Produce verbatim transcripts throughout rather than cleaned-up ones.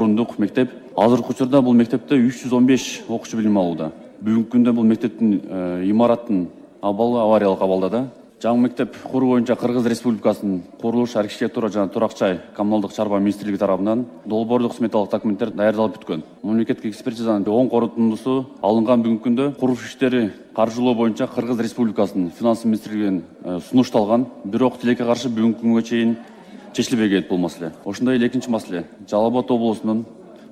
орундук мектеп. Азыркы учурда бул мектепте үч жүз он беш окуучу билим алууда. Бүгүнкү күндө бул мектептин имараттын абалы авариялык абалда. Жаңы мектеп куруу боюнча Кыргыз Республикасынын курулуш, архитектура жана турак-жай коммуналдык чарба министрлиги тарабынан долбоордук сметалык документтер даярдалып бүткөн. Мамлекеттик экспертизанын оң корутундусу алынган. Бүгүнкү күндө курулуш иштери каржылоо боюнча Кыргыз Республикасынын финанс министрлигинин сунушталган. Бирок тилекке каршы бүгүнкү күнгө чейин чечилбей келет бул маселе. Ошондой эле экинчи маселе. Жалал Абад облусунун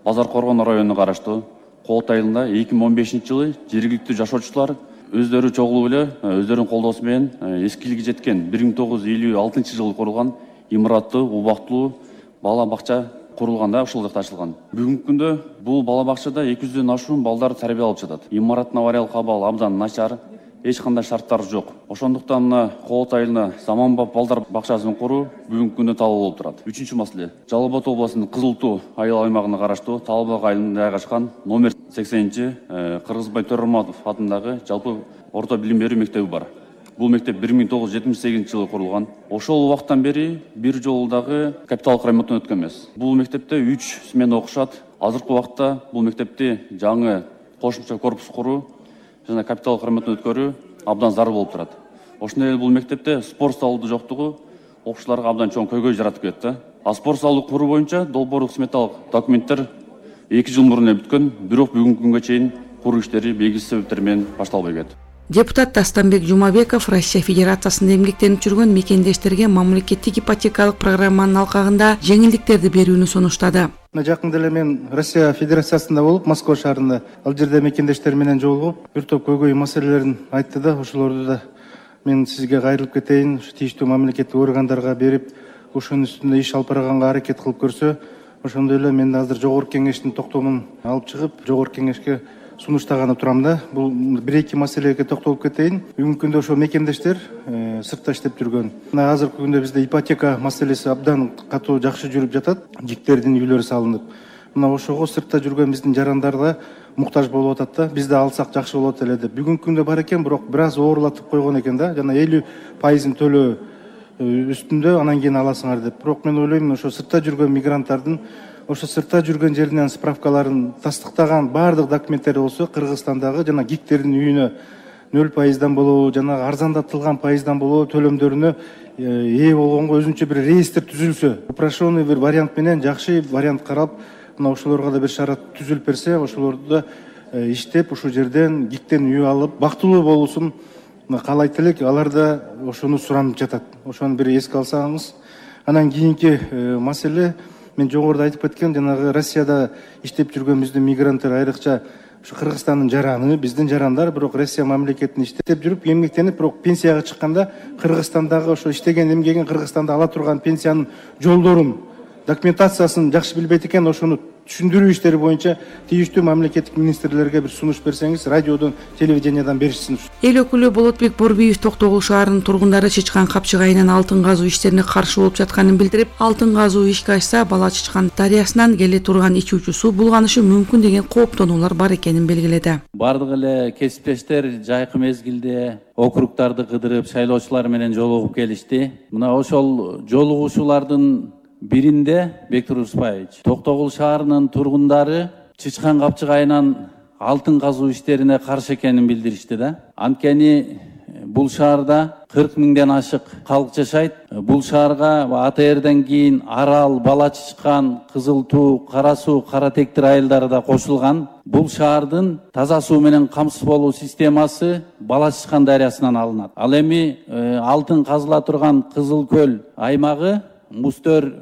Базар Коргон районуна караштуу Коот айылында эки миң он бешинчи жылы жергиликтүү жашоочулар өздөрү чогулуп эле өздөрүнүн колдоосу менен эскилиги жеткен бир миң тогуз жүз элүү алтынчы жылы курулган имараттуу, убактылуу бала бакча курулган да, ушул жакта ачылган. Бүгүнкү күндө бул бала бакчада эки жүздөн ашуун балдар тарбия алып жатат. Имараттын авариялык абалы абдан начар, эч кандай шарттар жок. Ошондуктан мына Коот айылына заманбап балдар бакчасын куруу бүгүнкү күндө талап болуп турат. Үчүнчү маселе. Жалал Абад облусунун Кызыл Туу айыл аймагына караштуу Талбак айылында жайгашкан номер сексенинчи Кыргызбай Төрөматов атындагы жалпы орто билим берүү мектеби бар. Бул мектеп бир миң тогуз жүз жетимиш сегизинчи жылы курулган. Ошол убакыттан бери бир жолу дагы капиталдык ремонттон өткөн эмес. Бул мектепте үч смена окушат. Азыркы убакытта бул мектепти жаңы кошумча корпус куруу жана капиталдык ремонттон өткөрүү абдан зарыл болуп турат. Ошондой эле бул мектепте спорт залы жоктугу окуучуларга абдан чоң көйгөй жаратып келет да. А спорт залды куруу боюнча долбоордук сметалык документтер эки жыл мурун эле бүткөн, бирок бүгүнкү күнгө чейин куруу иштери белгисиз себептер менен башталбай келет. Депутат Дастанбек Жумабеков Россия Федерациясында эмгектенип жүргөн мекендештерге мамлекеттик ипотекалык программанын алкагында жеңилдиктерди берүүнү сунуштады. Жакында эле мен Россия Федерациясында болуп, Москва шаарында ал жерде мекендештер менен жолугуп, бир топ көйгөй маселелерин айтты да, ошолорду да мен сизге кайрылып кетейин, тийиштүү мамлекеттик органдарга берип, ошонун үстүндө иш алып барганга аракет кылып көрсө, ошондой эле мен азыр жогорку кеңештин токтомун алып чыгып, жогорку кеңешке сунуштаганы турам да. Бул бир-эки маселеге токтолуп кетейин. Бүгүнкү күндө ошо мекендештер сыртта иштеп жүргөн. Мына азыркы күндө бизде ипотека маселеси абдан катуу жакшы жүрүп жатат. Жиктердин үйлөрү салынып. Мына ошого сыртта жүргөн биздин жарандар да муктаж болуп атат да. Биз да алсак жакшы болот эле деп. Бүгүнкү күндө бар экен, бирок бир аз оорлатып койгон экен да. Жана элүү пайызын төлөө үстүндө анан кийин аласыңар деп. Бирок мен ойлойм, ошо сыртта жүргөн мигранттардын ошо сыртта жүргөн жеринен справкаларын тастыктаган баардык документтери болсо, Кыргызстандагы жана гиктердин үйүнө нөл пайыздан болобу, жана арзандатылган пайыздан болобу төлөмдөрүнө ээ болгонго өзүнчө бир реестр түзүлсө, упрощенный бир вариант менен жакшы вариант карап, мына ошолорго да бир шарат түзүлүп берсе, ошолорду да иштеп ушул жерден гиктен үй алып, бактылуу болуусун каалайт элек. Алар да ошону суранып жатат. Ошону бир эске алсаңыз. Анан кийинки маселе, мен жогоруда айтып кеткен, жанагы Россияда иштеп жүргөн биздин мигранттар, айрыкча ушу Кыргызстандын жараны, биздин жарандар, бирок Россия мамлекетинде иштеп жүрүп, эмгектенип, бирок пенсияга чыкканда Кыргызстандагы ошо иштеген, эмгегин Кыргызстанда ала турган пенсиянын жолдорун, документациясын жакшы билбейт экен. Ошону түшүндүрүү иштери боюнча тийиштүү мамлекеттик министрлерге бир сунуш берсеңиз, радиодон, телевидениядан беришсин. Эл өкүлү Болотбек Борбиев Токтогул шаарынын тургундары чычкан капчык айынан алтын казуу иштерине каршы болуп жатканын билдирип, алтын казуу ишке ачса, Бала Чычкан дарыясынан келе турган ичүүчү суу булганышы мүмкүн деген кооптонуулар бар экенин белгиледи. Бардык эле кесиптештер жайкы мезгилде округдарды кыдырып, шайлоочулар менен жолугуп келишти. Мына ошол жолугушуулардын биринде Бектур Успаевич Токтогул шаарынын тургундары чычкан капчык айынан алтын казуу иштерине каршы экенин билдиришти да. Анткени бул шаарда кырк миңден ашык калк жашайт. Бул шаарга А Т Р'ден кийин Арал, Бала Чычкан, Кызыл Туу, Кара Суу, Кара Тектир айылдары да кошулган. Бул шаардын таза суу менен камсыз болуу системасы Бала Чычкан дарыясынан алынат. Ал эми алтын казыла турган Кызыл Көл аймагы мустөр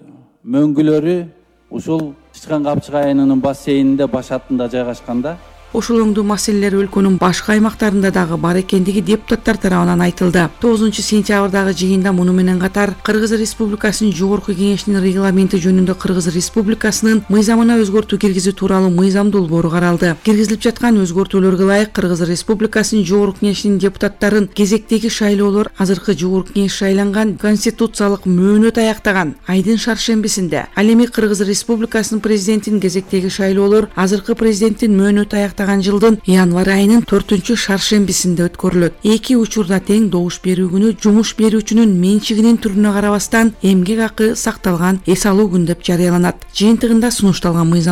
мөңгүлөрү ушул Чычкан капчык айынынын бассейнинде башатында жайгашканда. Ошол оңдуу маселелер өлкөнүн башка аймактарында дагы бар экендиги депутаттар тарабынан айтылды. тогузунчу сентябрдагы жыйында муну менен катар Кыргыз Республикасынын жогорку кеңешинин регламенти жөнүндө Кыргыз Республикасынын мыйзамына өзгөртүү киргизүү тууралуу мыйзам долбоору каралды. Киргизилип жаткан өзгөртүүлөргө ылайык Кыргыз Республикасынын жогорку кеңешинин депутаттарын кезектеги шайлоолор азыркы жогорку кеңеш шайланган конституциялык мөөнөт аяктаган айдын шаршембисинде, ал эми Кыргыз Республикасынын президентинин кезектеги шайлоолор азыркы президенттин мөөнөт аяктаган жылдын январь айынын төртүнчү шаршембисинде өткөрүлөт. Эки учурда тең добуш берүү күнү жумуш берүүчүнүн менчигинин түрүнө карабастан эмгек акы сакталган эс алуу күн деп жарыяланат. Жыйынтыгында сунушталган мыйзам